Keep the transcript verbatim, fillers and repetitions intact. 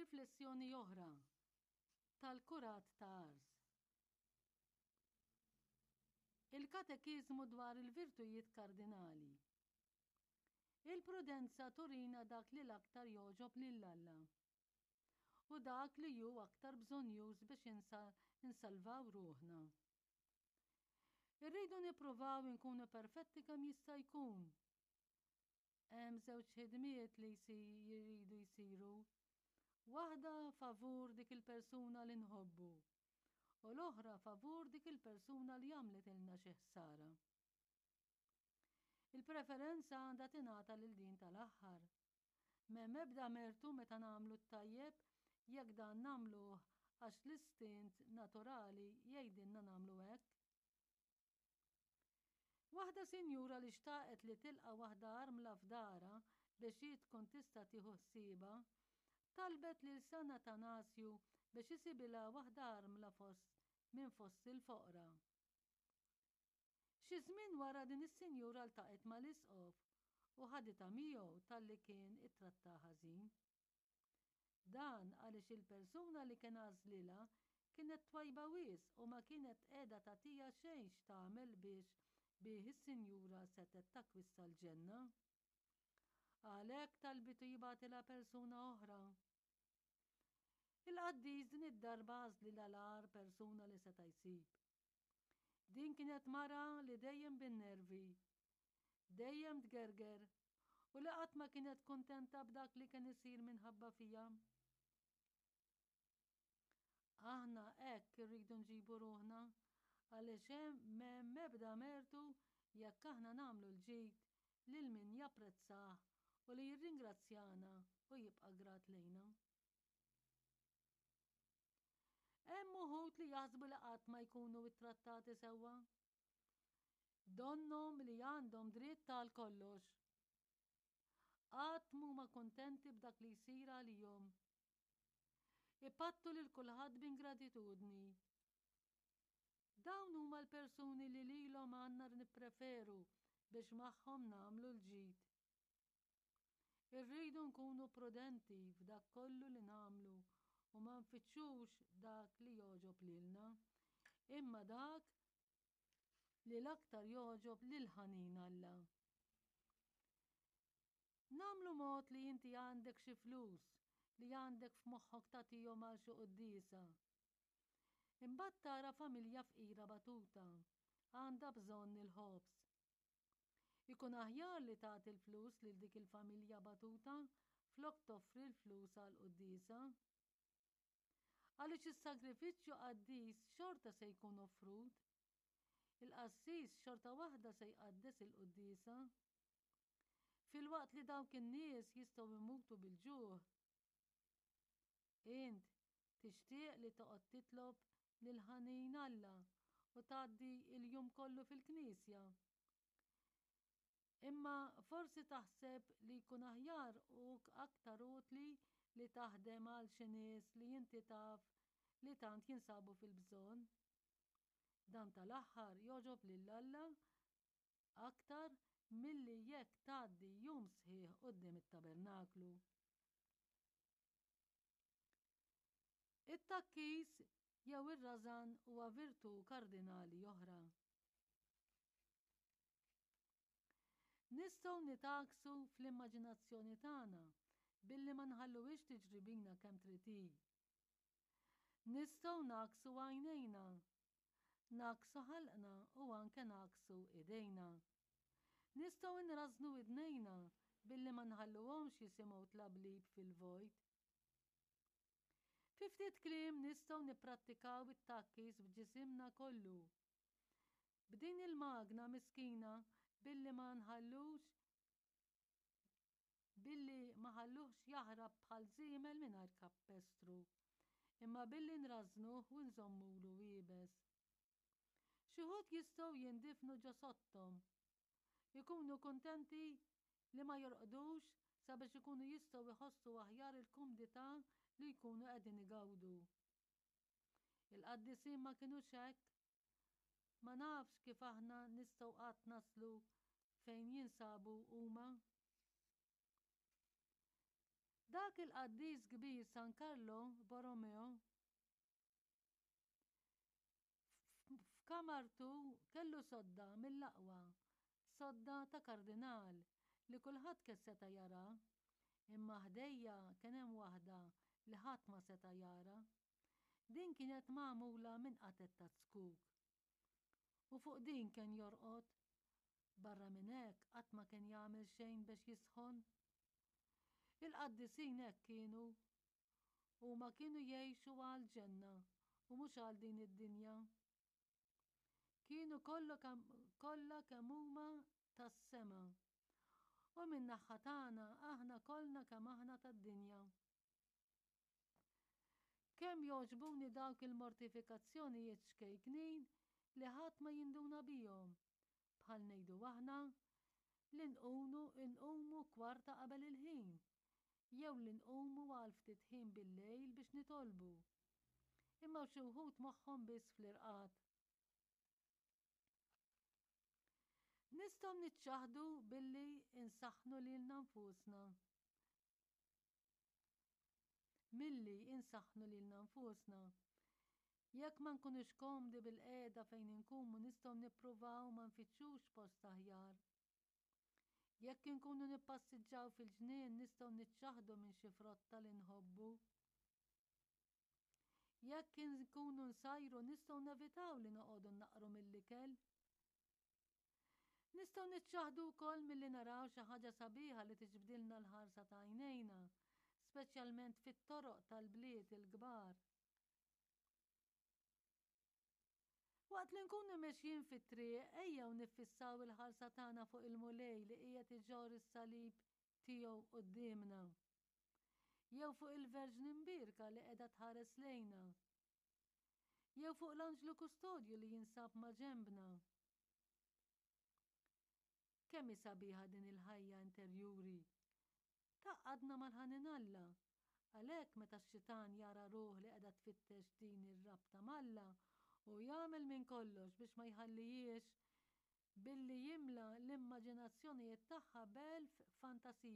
Riflessjoni oħra tal-Kurat ta' Ars. Il-Katekiżmu dwar il-virtujiet kardinali. Il-prudenza turina dak li l-aktar jogħġob lil Alla u dak li hu aktar bżonnjuż biex insalvaw ruħna. Irridu nippruvaw inkunu perfetti kemm jista' jkun. Hemm żewġ ħidmiet li jridu jsiru. Waħda favur dik il-persuna li nħobbu u l-oħra favur dik il-persuna li għamlitilna xi ħsara. Il-preferenza għandha tingħata lil din tal-aħħar. M'hemm ebda mertu meta nagħmlu t-tajjeb jekk dan nagħmluh għax l-istint naturali jgħidilna nagħmlu hekk. Waħda sinjura li xtaqet li tilqa' waħda armla f'darha biex hi tkun tista' tieħu ħsiebha, talbet lil San Atanasju biex isibilha waħda armla fost minn fost il-foqra. Xi żmien wara din is-sinjura ltaqgħet mal-isqof u ħaditha miegħu talli kien ittrattaha ħażin. Dan għaliex il-persuna li kien għażlilha kienet twajba wisq u ma kienet qiegħda tagħtiha xejn x'tagħmel biex bih is-sinjura setgħet takkwista l-ġenna. Għalhekk talbitu jibgħatilha persuna oħra. Il-qaddis din id-darba għażlilha l-agħar persuna li seta' jsib. Din kienet mara li dejjem bin-nervi, dejjem tgerger u li qatt ma kienet kuntenta b'dak li kien isir minħabba fiha. Aħna hekk irridu nġibu ruħna għaliex hemm m'hemm ebda mertu jekk aħna nagħmlu l-ġid lil min japprezzah u li jirringrazzjana u jibqa' grat lejna. Hemm uħud li jaħsbu li qatt ma jkunu ittrattati sewwa. Donnhom li għandhom dritt għal kollox. Qatt m'huma kuntenti b'dak li jsir għalihom. Ipattu lil kulħadd b'ingratitudni. Dawn huma l-persuni li lilhom għandna nippreferu biex magħhom nagħmlu l-ġid. Irridu nkunu prudenti f'dak kollu li nagħmlu u ma nfittxux dak li jogħġob lilna, imma dak li l-aktar jogħġob lil ħanin Alla. Nagħmlu mod li inti għandek xi flus li għandek f'moħħok tagħtihom għal xi quddiesa. Imbagħad tara familja fqira batuta, għandha bżonn il-ħobż. Ikun aħjar li tagħti l-flus lil dik il-familja batuta flok toffri l-flus għal quddiesa. Għaliex is-sagrifiċċju qaddis xorta se jkun offrut. Il-qassis xorta waħda se jqaddes il-quddiesa. Filwaqt li dawk in-nies jistgħu jmutu bil-ġuħ. Int tixtieq li toqgħod titlob lil ħanin Alla u tgħaddi l-jum kollu fil-knisja. Imma forsi taħseb li jkun aħjar u aktar utli li taħdem għal xi nies li inti taf li tant jinsabu fil-bżonn. Dan tal-aħħar jogħġob lil Alla aktar milli jekk tgħaddi jum sħiħ quddiem it-tabernaklu. It-tgħakkis jew ir-rażan huwa virtù kardinali oħra. Nistgħu nitgħakksu fl-immaġinazzjoni tagħna billi ma nħalluhiex tiġri bina kemm trid hi. Nistgħu ngħakksu għajnejna, ngħakksu ħalqna u anke ngħakksu idejna. Nistgħu nrażżnu widnejna billi ma nħalluhomx jisimgħu tlablib fil-vojt. Fi ftit kliem nistgħu nipprattikaw it-tgħakkis b'ġisimna kollu. B'din il-magna miskina billi ma nħallux billi ma ħalluhx jaħrab bħal żiemel mingħajr kappestru, imma billi nrażżnuh u nżommulu iebes. Xi wħud jistgħu jindifnu ġo sottom. Ikunu kuntenti li ma jorqdux sabiex ikunu jistgħu jħossu aħjar il-kumdità li jkunu qegħdin igawdu. Il-qaddisin ma kinux hekk. Ma nafx kif aħna nistgħu qatt naslu fejn jinsabu huma. Darba Dak il-qaddis kbir San Carlo Borromeo f'kamartu kellu sodda mill-aqwa, sodda ta' kardinal li kulħadd kien seta' jara, imma ħdejja kien hemm waħda li ħadd ma seta' jara. Din kienet magħmula minn qatet ta' zkuk. U fuq din kien jorqod. Barra minn hekk qatt ma kien jagħmel xejn biex jisħon. Il-qaddisin hekk kienu. Huma kienu jgħixu għall-ġenna u mhux għal din id-dinja. Kienu kollha kemm huma tas-sema. U min-naħa tagħna aħna kollna kemm aħna tad-dinja. Kemm jogħġbuni dawk il-mortifikazzjonijiet ċkejknin li ħadd ma jinduna bihom, bħal ngħidu aħna li nqunu nqumu kwarta qabel il-ħin, jew li nqumu għal ftit ħin bil-lejl biex nitolbu. Imma xi wħud moħħhom biss fl-irqad. Nistgħu niċċaħdu billi insaħħnu lilna nfusna. Milli insaħħnu lilna nfusna. Jekk ma nkunux komdi bil-qiegħda fejn inkunu nistgħu nippruvaw ma nfittxux post aħjar. Jekk inkunu nippassiġġaw fil-ġnien nistgħu niċċaħdu minn xi frotta li nħobbu. Jekk inkunu nsajru nistgħu nevitaw li noqogħdu naqru mill-ikel. Nistgħu niċċaħdu wkoll milli naraw xi ħaġa sabiħa li tiġbdilna l-ħarsa ta' għajnejna, speċjalment fit-toroq tal-bliet il-kbar. Waqt li nkunu mexjin fit-triq, ejjew niffissaw il-ħarsa tagħna fuq il-Mulej li qiegħed iġorr is-salib tiegħu quddiemna. Jew fuq il-Verġni Mbierka li qiegħda tħares lejna. Jew fuq l-Anġlu Kustodju li jinsab ma' ġenbna. Kemm hi sabiħa din il-ħajja interjuri! Tgħaqqadna mal-ħanin Alla. Għalhekk meta x-xitan jara ruħ li qiegħda tfittex din ir-rabta m'Alla, hu jagħmel minn kollox biex ma jħallihiex billi jimla l-immaġinazzjonijiet tagħha b'elf fantasija.